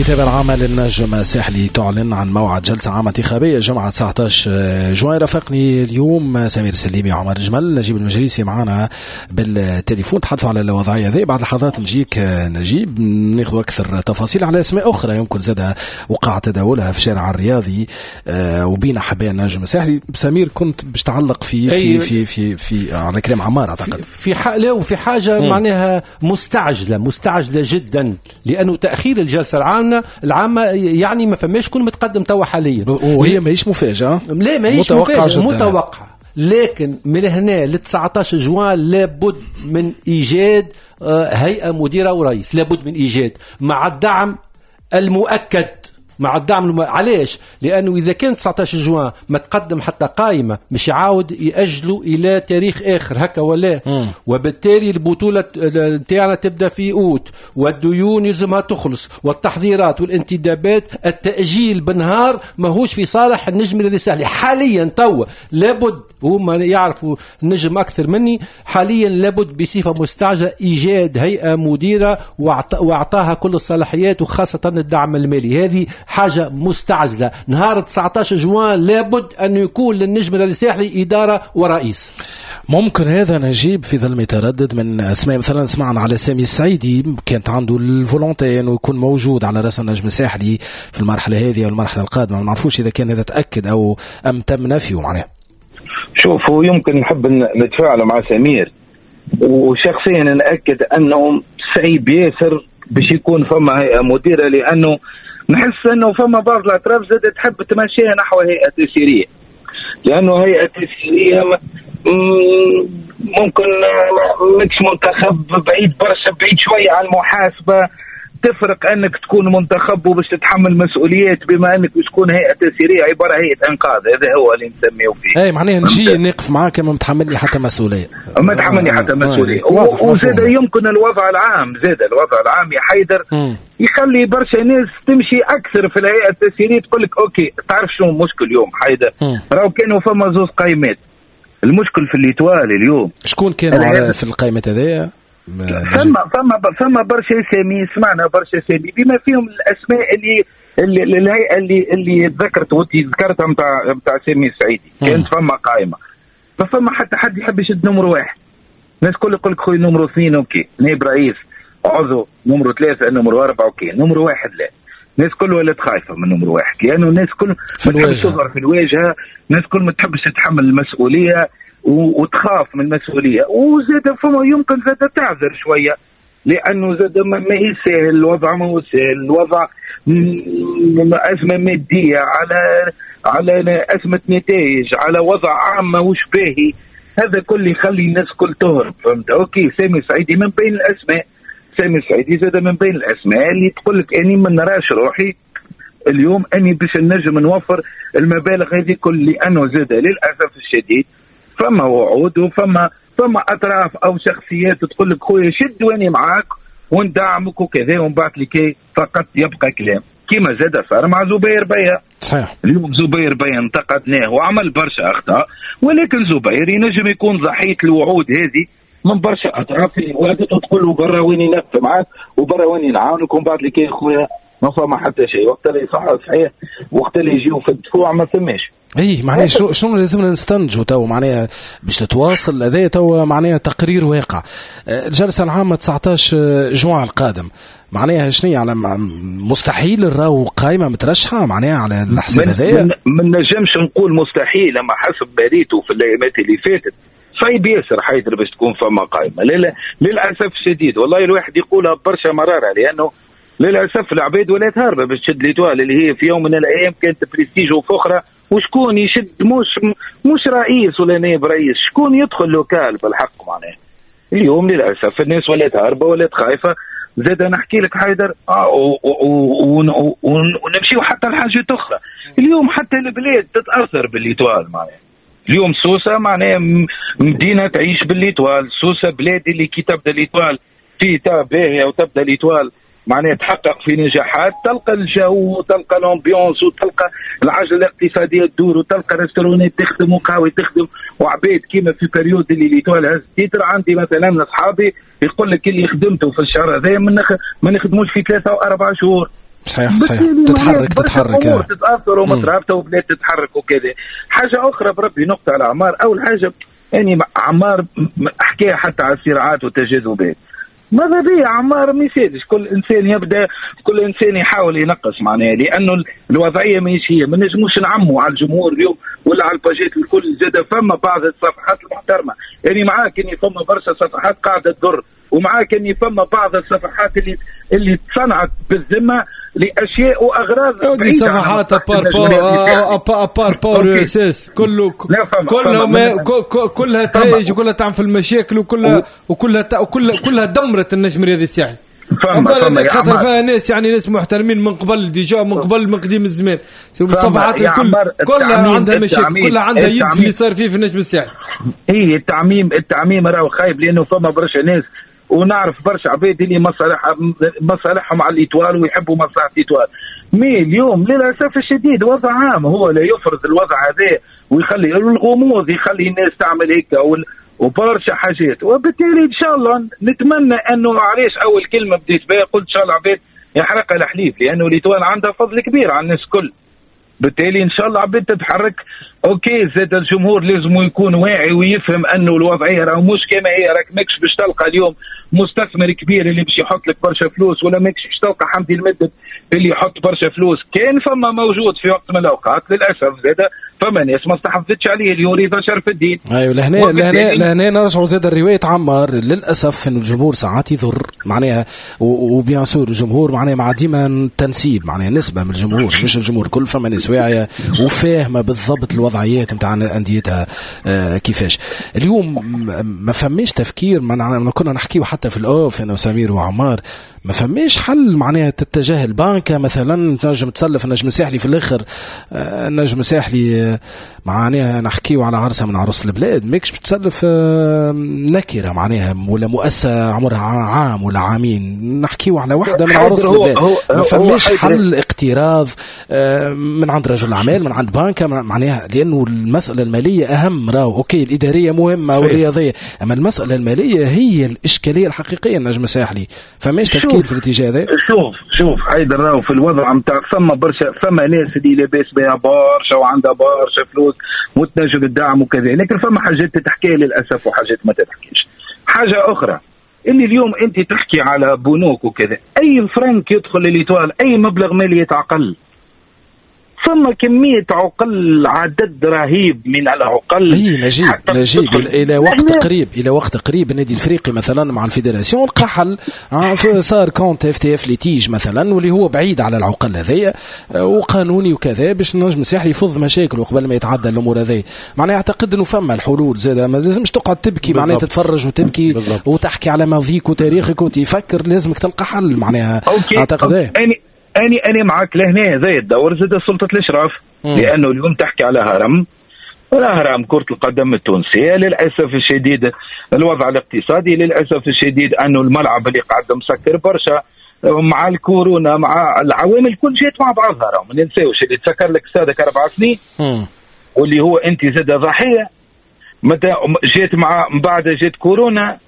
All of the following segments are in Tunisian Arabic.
الكتابة العامة للنجم الساحلي تعلن عن موعد جلسة عامة انتخابية جمعة 19 جوان. رافقني اليوم سمير السليمي وعمر جمل، نجيب المجلسي معنا بالتليفون، تحدثوا على الوضعية هذه. بعد لحظات نجيك نجيب ناخذ أكثر تفاصيل على أسماء أخرى يمكن زادها وقع تداولها في الشارع الرياضي وبين أحباء النجم الساحلي. سمير كنت باش تعلق في في في في, في على كلام عمار أعتقد في وفي حاجة معناها مستعجلة جدا، لأنه تأخير الجلسة العامة يعني ما فماش كون متقدم توا حاليا، وهي ماهيش مفاجأة، لا ماهيش مفاجأة، متوقعة، لكن من هنا ل 19 جوان لابد من إيجاد هيئة مديرة ورئيس، لابد من إيجاد مع الدعم المؤكد، مع الدعم علاش؟ لأنه إذا كان 19 جوان ما تقدم حتى قائمة مش يعاود يأجلوا إلى تاريخ آخر هكا ولا، وبالتالي البطولة نتاعنا تبدأ في أوت، والديون يلزمها تخلص، والتحضيرات والانتدابات، التأجيل بالنهار ماهوش في صالح النجم الذي سهل حاليا توا. لابد هما يعرفوا النجم أكثر مني، حاليا لابد بصفة مستعجلة إيجاد هيئة مديرة وأعطاها كل الصلاحيات وخاصة الدعم المالي. هذه حاجة مستعجلة. نهار 19 جوان لابد أن يكون للنجم الساحلي إدارة ورئيس. ممكن هذا نجيب في ظل تردد من أسماء، مثلا سمعنا على سامي السعيدي كانت عنده ال volonté أنه يكون موجود على رأس النجم الساحلي في المرحلة هذه أو المرحلة القادمة، ما نعرفوش إذا كان هذا تأكد أو أم تم نفيه معناه. شوف، هو يمكن نحب نتفاعل مع سمير، وشخصيا نأكد أنه صعيب ياسر باش يكون فما هيئة مديرة، لأنه نحس أنه فما بعض الأطراف زادت تحب تمشيها نحو هيئة تسييرية، لأنه هيئة تسييرية ممكن ماكش منتخب، بعيد برشا، بعيد شوية على المحاسبة، تفرق أنك تكون منتخب وباش تتحمل مسؤوليات، بما أنك باش تكون هيئة تسييرية عبارة هيئة إنقاذ، هذا هو اللي نسميه فيه. أي معناها نجي نقف معاك ما متحملني حتى مسؤولية، ما تحملني حتى مسؤولية. وزاد يمكن الوضع العام، زاد الوضع العام يا حيدر يخلي برشا ناس تمشي أكثر في الهيئة التسييرية، تقول لك OK. تعرف شو المشكل اليوم حيدر؟ راهو كانوا فما زوز قائمات. المشكل في l'Étoile اليوم شكون كانوا في القائمة هذيا؟ فما برشا اسامي، سمعنا برشا اسامي بما فيهم الاسماء اللي الهيئة اللي ذكرت وانت ذكرتها نتاع سامي السعيدي، كانت فما قائمة، ما فما حتى حد يحب يشد numéro واحد. الناس كل يقول لك خويا numéro اثنين OK، نائب رئيس، عضو، numéro ثلاثة، numéro أربعة OK، numéro واحد لا. الناس كل ولات خايفة من numéro واحد، لانه الناس كل ما تحبش تظهر في الواجهة، الناس كل ما تحبش تتحمل المسؤولية وتخاف من المسؤولية، وزاد فما يمكن زاد تعذر شوية، لأنه زاد ما هي سهل الوضع، ما هو سهل الوضع، أزمة مادية على أزمة نتائج، على وضع عام ماهوش باهي، هذا كل يخلي الناس كل تهرب، فهمت؟ OK سامي سعيدي من بين الأسماء، سامي سعيدي زاد من بين الأسماء اللي تقول لك أني ما نراش روحي اليوم أني باش نجم نوفر المبالغ هذه كل، لأنه زاد للأسف الشديد فما وعود وفما اطراف او شخصيات تقول لك خويا شد واني معاك وندعمك وكذا، ومن بعد لكي فقط يبقى كلام، كما زاد صار مع زبير بيا. صحيح. اليوم زبير بيا انتقدناه وعمل برشا اخطاء، ولكن زبير ينجم يكون ضحية الوعود هذه من برشا اطراف اللي وعدته تقول له برا ويني نقف معاك وبرا ويني نعاونك، ومن بعد لكي خويا ما فما حتى شيء، وقت اللي صح صحيح، وقت اللي يجيو في الدفوع ما فماش. اي معناها شنو لازمنا نستنتجوا تو، معناها باش تتواصل هذا تو، معناها تقرير واقع الجلسة العامة 19 جوان القادم، معناها شنو على مستحيل راهو قائمة مترشحه معناها على الحساب هذايا؟ ما نجمش نقول مستحيل، اما حسب بريته في الايامات اللي فاتت صعيب ياسر حيدر باش تكون فما قائمة، للاسف الشديد. والله الواحد يقولها برشا مرارة، لانه للاسف العباد ولات هاربه باش تشد l'Étoile اللي هي في يوم من الايام كانت بريستيج وفخره، وشكون يشد مش رئيس ولا نائب رئيس، شكون يدخل local بالحق معناه. اليوم للاسف الناس ولات هاربه ولات خايفة. زاد نحكي لك حيدر ونمشيو حتى لحاجات اخرى. اليوم حتى البلاد تتاثر ب l'Étoile معناها. اليوم سوسة معناها مدينة تعيش ب l'Étoile، سوسة بلاد اللي كي تبدا l'Étoile في باهيه وتبدا l'Étoile معناها تحقق في نجاحات، تلقى الجو وتلقى l'ambiance وتلقى العجلة الاقتصادية تدور وتلقى restaurant ات تخدم وقهوة تخدم وعباد كيما في période اللي l'Étoile هز titre. عندي مثلا اصحابي يقول لك اللي خدمته في الشهر هذا ما نخدموش في 3 و4 شهور. صحيح صحيح، تتحرك تتحرك امور تتاثر ومترابطه وبلاد تتحرك وكذا. حاجة اخرى بربي نقطة على عمار. اول حاجة يعني عمار حكى حتى على الصراعات والتجاذبات، ماذا بيا عمار ما يسالش، كل انسان يبدا، كل انسان يحاول ينقص معناها، لانه الوضعية ماهيش هي، ما نجموش نعموا على الجمهور اليوم ولا على الباجات الكل. زاد فما بعض الصفحات المحترمة، يعني معاك اني فما برشا صفحات قاعدة تضر، ومعاك اني فما بعض الصفحات اللي تصنعت بالذمه لاشياء واغراض بعيدة. صفحات à part Power ESS كله كلها تهيج وكلها تعمل في المشاكل وكلها وكلها كلها دمرت النجم الرياضي الساحلي. فما خاطر فيها ناس يعني ناس محترمين من قبل déjà، من قبل من قديم الزمان. الصفحات الكل كلها عندها مشاكل، كلها عندها يد في اللي صار فيه في النجم الساحلي. اي التعميم راهو خايب، لانه فما برشا ناس ونعرف برشا عباد اللي مصالحهم على l'Étoile ويحبوا مصلحة l'Étoile. mais اليوم للاسف الشديد وضع عام هو لا يفرض الوضع هذا ويخلي الغموض، يخلي الناس تعمل هيك وبرشا حاجات. وبالتالي ان شاء الله نتمنى انه، علاش اول كلمة بديت بها قلت ان شاء الله عباد يحرق الحليب، لانه l'Étoile عندها فضل كبير على الناس الكل. بالتالي ان شاء الله عباد تتحرك. OK زاد الجمهور لازم يكون واعي ويفهم انه الوضعية راه مش كما هي، راك ماكش باش تلقى اليوم مستثمر كبير اللي باش يحط لك برشا فلوس، ولا ماكش باش تلقى حمدي المدب اللي يحط برشا فلوس. كان فما موجود في وقت من الاوقات، للاسف زاد فما ناس ما استحفظتش عليه اللي هو رضا شرف الدين. ايوه لهنا لهنا نرجعوا زاد الرواية عمار، للاسف انه الجمهور ساعات يضر معناها، و bien sûr الجمهور معناها مع ديما تنسيب معناها نسبه من الجمهور، مش الجمهور كل، فما ناس واعية وفاهمه بالضبط الوضعيات نتاع انديتها كيفاش. اليوم ما فماش تفكير، ما كنا نحكيو حتى في ال off انا وسمير وعمار، ما فماش حل معناها تتجه البنكة مثلا تنجم تسلف النجم الساحلي في الاخر. النجم الساحلي معناها نحكيو على عرسه من عروس البلاد، ماكش بتسلف نكره معناها ولا مؤسسة عمرها عام ولا عامين، نحكيو على واحدة من عروس البلاد. ما فماش حل اقتراض من عند رجل اعمال، من عند بنكه معناها، لانه المسالة المالية اهم. راهو OK الادارية مهمة والرياضيه، اما المسالة المالية هي الاشكالية الحقيقية النجم الساحلي. فماش تفكير في الاتجاه هذا؟ شوف حيدر، راهو في الوضع نتاع فما برشا، فما ناس اللي لاباس بها برشا وعندها برشا فلوس وتنجم الدعم وكذا، لكن فما حاجات تتحكي للاسف وحاجات ما تتحكيش. حاجة اخرى اللي اليوم انت تحكي على بنوك وكذا، اي فرنك يدخل لل Étoile، اي مبلغ مالي يتعقل، ثم كمية عقل، عدد رهيب من العقل. اي نجيب الى وقت قريب، الى وقت قريب النادي الافريقي مثلا مع ال fédération لقى حل، صار compte FTF litige مثلا، واللي هو بعيد على العقل هذايا وقانوني وكذا، باش النجم الساحلي يفض مشاكله قبل ما يتعدى الامور هذه. معناها اعتقد انه فما الحلول زاد، ما لازمش تقعد تبكي معناها تتفرج وتبكي بالضبط. وتحكي على ماضيك وتاريخك وتفكر، لازمك تلقى حل معناها. اعتقد ايه أنا معك لهنا. زي الدور زاد سلطة الإشراف، لأنه اليوم تحكي على هرم، هرم كرة القدم التونسية. للأسف الشديد الوضع الاقتصادي، للأسف الشديد أنه الملعب اللي قاعد مسكر برشا مع الكورونا، مع العوامل كل جات مع بعضها. ما ننساوش اللي تسكر لك سادك 4 سنين واللي هو أنت زاد ضحية، متى جات مع بعد جات كورونا،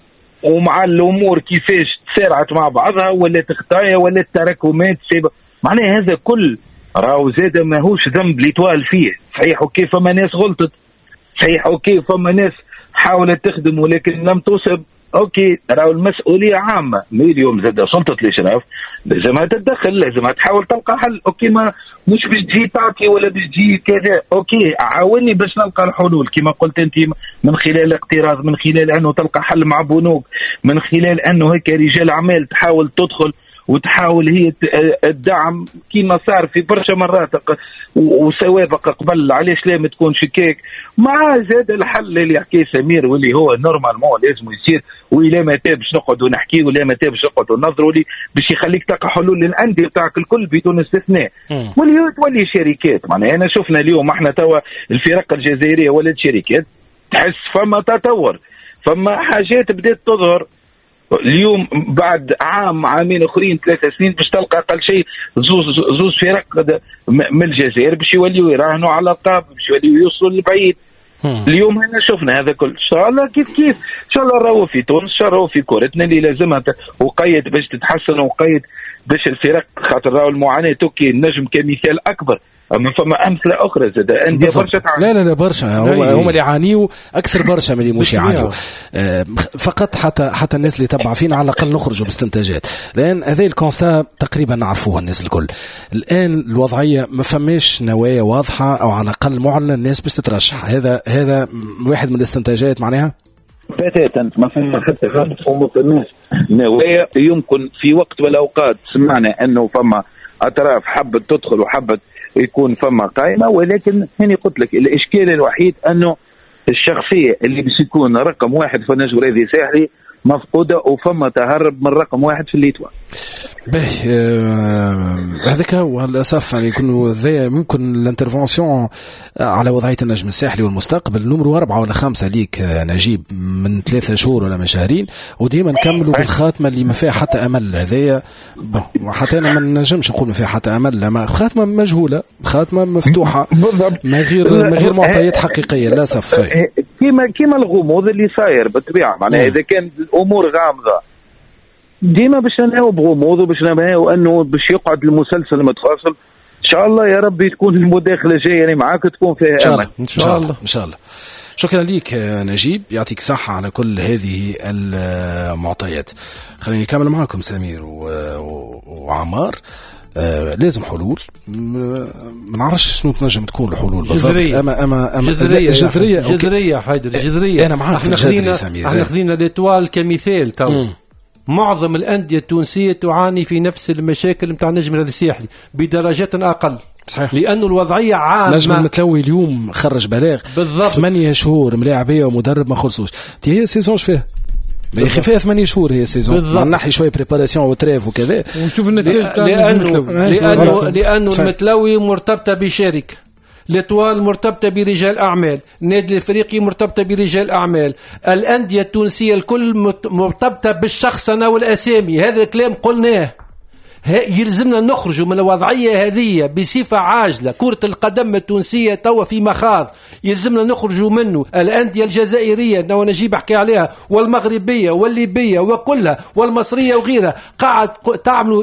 ومع الامور كيفاش تسارعت مع بعضها، ولا خطايا ولا تراكمات سيبه. معناها هذا كل راهو زاد ماهوش ذنب l'Étoile فيه. صحيح OK فما ناس غلطت، صحيح OK فما ناس حاولت تخدم ولكن لم تصب، OK راهو المسؤولية عامة. mais اليوم زاد سلطة الاشراف لازمها تتدخل، لازمها تحاول تلقى حل. OK ما مش باش تجي تعطي ولا باش تجي كذا، OK عاوني باش نلقى الحلول كما قلت انت، من خلال الاقتراض، من خلال انه تلقى حل مع بنوك، من خلال انه هيك رجال اعمال تحاول تدخل وتحاول هي الدعم كما صار في برشا مرات وسوابق قبل. علاش لا ما تكونش كيك مع زاد الحل اللي يحكيه سمير واللي هو normalement لازم يصير، وإلى متى باش نقعدوا نحكي، ولا متى باش نقعدوا ننظروا لي باش يخليك تلقى حلول للاندية بتاعك الكل بدون استثناء، واللي هو تولي شركات. معناها انا شفنا اليوم احنا توا الفرق الجزائرية ولات شركات، تحس فما تطور، فما حاجات بدات تظهر. اليوم بعد عام عامين اخرين 3 سنين باش تلقى اقل شيء زوز فرق من الجزائر باش يوليو يراهنوا على القاب، باش يوليو يوصلوا للبعيد. اليوم هنا شفنا هذا كل، ان شاء الله كيف كيف، ان شاء الله راهو في تونس، ان شاء الله راهو في كورتنا اللي لازمها وقيد باش تتحسن، وقيد باش الفرق، خاطر راهو المعاناة okay النجم كمثال اكبر، اما فما امثلة اخرى زاد اندية برشا تعاني. لا لا لا برشا، هما اللي يعانيوا اكثر برشا من اللي مش يعانيوا. فقط حتى الناس اللي تبع فينا على الاقل نخرجوا باستنتاجات، لان هذا ال constat تقريبا نعرفوه الناس الكل. الان الوضعية ما فماش نوايا واضحة او على الاقل معلن الناس باش تترشح، هذا واحد من الاستنتاجات معناها. بتاتا ما فما حتى غلط وما فماش نوايا. يمكن في وقت من الاوقات سمعنا انه فما اطراف حبت تدخل وحبت يكون فما قائمة، ولكن هني قلت لك الاشكال الوحيد انه الشخصية اللي باش يكون رقم واحد في النجم الرياضي الساحلي مفقودة، وفما تهرب من رقم واحد في l'Étoile. باهي هذاك هو للاسف، يعني يكون ممكن ال intervention على وضعية النجم الساحلي والمستقبل numéro 4 ولا 5 ليك نجيب من 3 شهور ولا من شهرين، وديما نكملوا بالخاتمه اللي ما فيها حتى امل. هذايا حتى انا ما نجمش نقول ما فيها حتى امل، ما خاتمه مجهولة، خاتمه مفتوحة من غير معطيات حقيقية للاسف. كيما الغموض اللي صاير بالطبيعة، معناها اذا كان الامور غامضة ديما باش ننهاو بغموض وباش ننهاو انه باش يقعد المسلسل متواصل. ان شاء الله يا ربي تكون المداخلة الجاية يعني معاك تكون فيها امل ان شاء الله. ان شاء الله. شكرا لك نجيب، يعطيك صحة على كل هذه المعطيات. خليني نكمل معكم سمير وعمار. لازم حلول، ما نعرفش شنو تنجم تكون الحلول بالضبط. اما جذرية حيدر، جذرية. انا معاك. احنا خذينا l'Étoile كمثال تو. معظم الأندية التونسية تعاني في نفس المشاكل متاع النجم الرياضي الساحلي بدرجات أقل. صحيح. لأنه الوضعية عامة. نجم المتلوي اليوم خرج بلاغ 8 شهور ملاعبية ومدرب ما خلصوش. تي هي saison فيها ما يخي فيها 8 شهور هي saison، نحي شوية préparation و trêve وكذا ونشوف النتائج تاع لأنه المتلوي مرتبطة بشركة، l'Étoile مرتبطة برجال أعمال، النادي الإفريقي مرتبطة برجال أعمال، الأندية التونسية الكل مرتبطة بالشخصنة والأسامي. هذا الكلام قلناه، يلزمنا نخرج من الوضعية هذه بصفة عاجلة. كرة القدم التونسية توا في مخاض يلزمنا نخرج منه. الأندية الجزائرية نجيب حكي عليها، والمغربية والليبية وكلها والمصرية وغيرها قاعد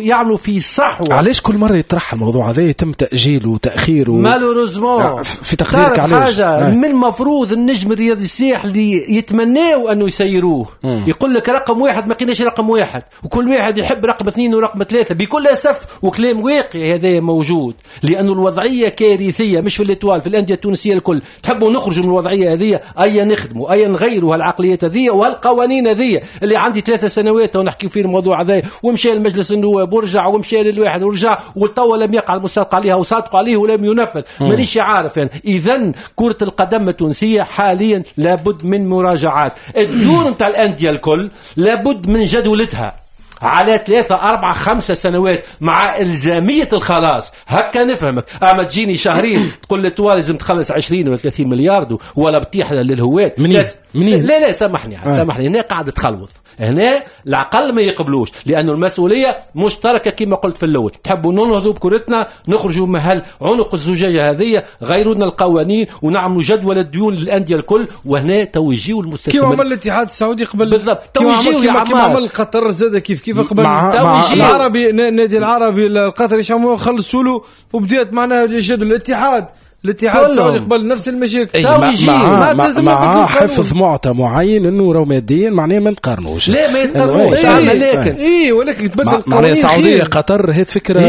يعملوا في صحوة. علاش كل مرة يطرح الموضوع هذا يتم تأجيله وتأخيره؟ malheureusement في تقديرك علاش؟ حاجة من المفروض النجم الرياضي الساحلي يتمناوا أنه يسيروه. يقول لك رقم واحد ما كناش رقم واحد، وكل واحد يحب رقم 2 ورقم 3 بكل أسف. وكلام واقعي هذا موجود، لأنه الوضعية كارثية مش في l'Étoile، في الأندية التونسية الكل. تحبوا نخرجوا من الوضعية هذه، أي نخدموا، أي نغيروا هالعقليات هذه وهالقوانين هذه اللي عندي 3 سنوات ونحكي في الموضوع هذا، ومشى المجلس النواب ورجع ومشى للواحد ورجع، والتوا لم يقع المصادقة عليها وصادقوا عليه ولم ينفذ. مانيش عارف يعني. إذن كرة القدم التونسية حاليا لابد من مراجعات الدور نتاع الأندية الكل، لابد من جدولتها على 3 4 5 سنوات مع إلزامية الخلاص. هكا نفهمك. أما تجيني شهرين تقول لي توا لازم تخلص 20 ولا 30 مليار ولا بتيح للهواة. منين؟ لا لا سامحني سامحني، هنا قاعد تخلوط، هنا العقل ما يقبلوش، لأنه المسؤولية مشتركة كما قلت في الأول. تحبوا ننهضوا بكرتنا، نخرجوا من عنق الزجاجة هذه، غيرونا القوانين ونعملوا جدول الديون للأندية الكل، وهنا توجيوا المستثمرين كيما عمل الاتحاد السعودي قبل بالضبط. توجيوا كيما عمل قطر زاد كيف قبل العربي، النادي العربي القطري شامو خلصوا له وبدات معناها جدول الاتحاد السعودي قبل نفس المشاكل. مع حفظ معطى معين انه راهو ماديا معناه ما نقارنوش. لا ما يتقارنوش، لكن اي ولكن تبدل القوانين. معناها السعودية قطر هي فكرة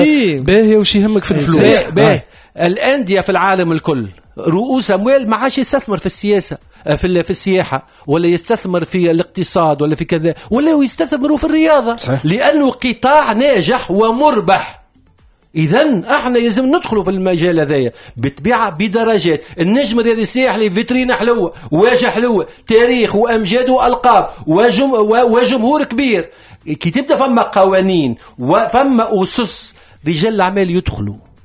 باهيه وش يهمك في الفلوس. باهي الاندية في العالم الكل رؤوس اموال ما عادش يستثمر في السياسة، في السياحة، ولا يستثمر في الاقتصاد ولا في كذا، ولا يستثمروا في الرياضة. صحيح. لانه قطاع ناجح ومربح. إذن احنا لازم ندخلوا في المجال هذايا بالطبيعة بدرجات. النجم الرياضي الساحلي فيترينا حلوة، واجهه حلوة، تاريخ وامجاد والقاب وجمهور كبير. كي تبدا فما قوانين وفما اسس، رجال الاعمال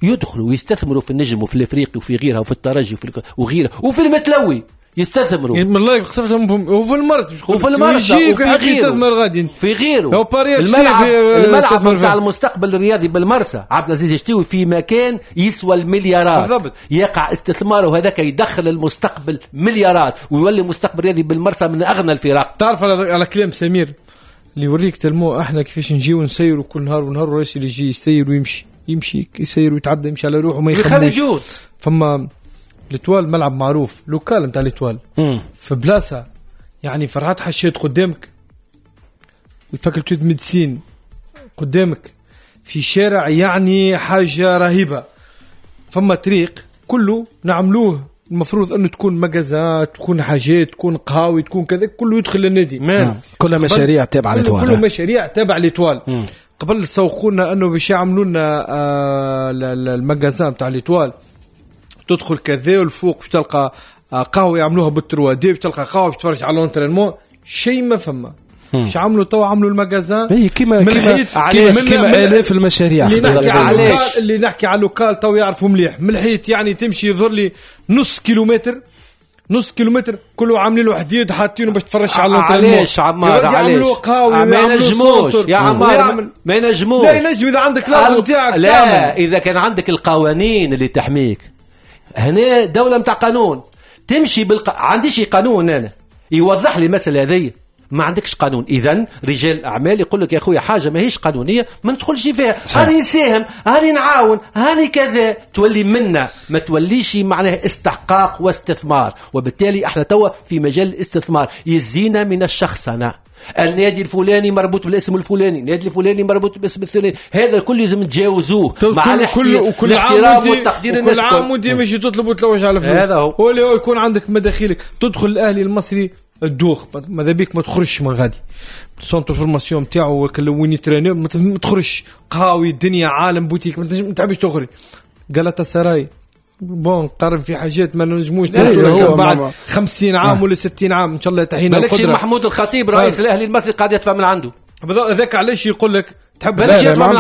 يدخلوا ويستثمروا في النجم وفي الافريقي وفي غيرها وفي الترجي وفي غيرها وفي المتلوي يستثمروا. والله وفي المرس وفي المرس وفي يستثمر غادي في غيره. الملعب نتاع المستقبل الرياضي بالمرسى عبد العزيز الشتيوي في مكان يسوى المليارات. بالضبط. يقع استثماره هذاك يدخل المستقبل مليارات ويولي المستقبل الرياضي بالمرسى من اغنى الفرق. تعرف على كلام سمير اللي يوريك tellement احنا كيفاش نجيو نسيروا كل نهار ونهار، الرئيس اللي يجي يسير ويمشي، يمشي يسير ويتعدى، يمشي على روحه وما يخممش. فما l'Étoile ملعب معروف، local نتاع l'Étoile في بلاصة يعني فرحات حشيت قدامك، ال faculté de médecine قدامك، في شارع يعني حاجة رهيبة. فما طريق كله نعملوه المفروض انه تكون مجازات، تكون حاجات، تكون قهاوي، تكون كذا، كله يدخل للنادي. كلها مشاريع تابعه l'Étoile، كله مشاريع تابعه l'Étoile. قبل سوقوا لنا انه باش يعملوا لنا ال magasin تاع l'Étoile، تدخل كذا والفوق باش تلقى قهوة يعملوها بال 3D، باش تلقى قهوة باش تتفرج على l'entraînement، شيء ما فما. اش عملوا تو؟ عملوا ال magasin. اي كيما كيما الاف المشاريع. اللي نحكي على ال local تو يعرفوا مليح. من الحيط يعني تمشي يظهر لي نص كيلومتر، نص كيلومتر كله عاملين له حديد حاطينه باش تفرش على l'entraînement. علاش عمار؟ علاش ما ينجموش يا عمار؟ ما ينجموش. لا ينجم اذا عندك الارض نتاعك. لا اذا كان عندك القوانين اللي تحميك. هنا دولة نتاع قانون تمشي عنديش قانون انا يوضح لي المسألة هذه، ما عندكش قانون. اذا رجال الاعمال يقول لك يا خويا حاجة ماهيش قانونية ما ندخلش فيها، هاني نساهم، هاني نعاون، هاني كذا، تولي منا ما توليش معناها استحقاق واستثمار. وبالتالي احنا توا في مجال الاستثمار يزينا من الشخصنه. النادي الفلاني مربوط بالاسم الفلاني، النادي الفلاني مربوط بالاسم الفلاني، هذا الكل لازم نتجاوزوه مع الاحترام والتقدير. الناس كل عام وانت ماشي تطلب وتلوج على فلوس، هذا هو اللي هو يكون عندك مداخيلك. تدخل الاهلي المصري الدوخ ماذا بيك ما تخرجش من غادي، centre formation نتاعو وين يتريني ما تخرجش، قهاوي الدنيا عالم بوتيك ما تحبش تخرج. غلطة سراي bon قارن في حاجات ما نجموش بعد 50 عام ولا 60 عام ان شاء الله تحينا القدرة. محمود الخطيب رئيس الاهلي المصري قاعد يدفع من عنده، هذاك علاش يقول لك تحب يدفع من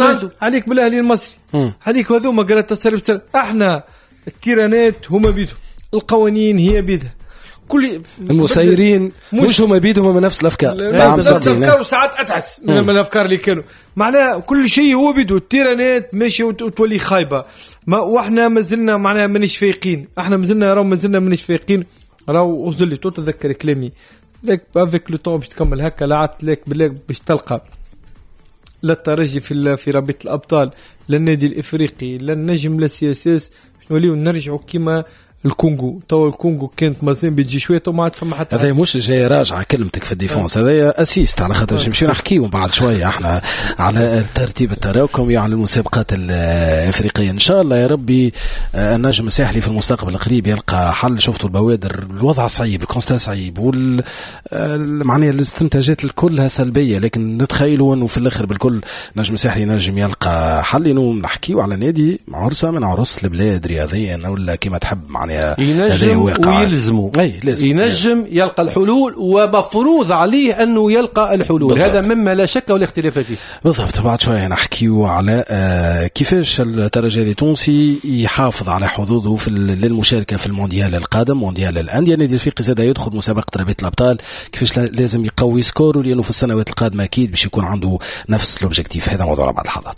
عنده، عليك بالاهلي المصري، عليك هذوما غلطة سراي. احنا التيرانات هما بيدهم، القوانين هي بيدها، كل المسيرين مش هما بيدهم من نفس الافكار، نفس الافكار وساعات اتعس من الافكار اللي كانوا معناها. كل شيء هو بيدو، التيرانات ماشي وتولي خايبة، ما واحنا مازلنا معناها مانيش فايقين، احنا مازلنا راهو مازلنا مانيش فايقين. راهو وصل لي تتذكر كلامي لك avec le temps باش تكمل هكا لعبت لك بالله باش تلقى لا الترجي في رابطه الابطال، لا النادي الافريقي، لا النجم، لا CSS، نوليو نرجعوا كيما الكونغو. تو الكونغو كانت مازال بتجي شوية تو ما عاد فما حتى. هذا مش جاي راجعه كلمتك في ال défense، هذا assist على خاطر نمشيو نحكيو بعد شوية احنا على الترتيب التراكمي على المسابقات الافريقية. ان شاء الله يا ربي النجم الساحلي في المستقبل القريب يلقى حل. شفتوا البوادر، الوضع صعيب، ال constat صعيب، وال معناها الاستنتاجات كلها سلبية، لكن نتخيلوا انه في الاخر بالكل نجم الساحلي نجم يلقى حل. انه نحكيو على نادي عرسه من عرس البلاد رياضيا ولا كما تحب، معناها ينجم ويلزمه، ينجم يلقى الحلول ومفروض عليه أنه يلقى الحلول. بالضبط. هذا مما لا شك ولا اختلاف فيه. بالضبط. بعد شوية نحكيو على كيفاش الترجي التونسي يحافظ على حظوظه في للمشاركة في المونديال القادم، مونديال الأندية. النادي الافريقي زاد يدخل مسابقة رابطة الأبطال، كيفاش لازم يقوي score و لأنه في السنوات القادمة أكيد باش يكون عنده نفس l'objectif. هذا موضوع بعد لحظات.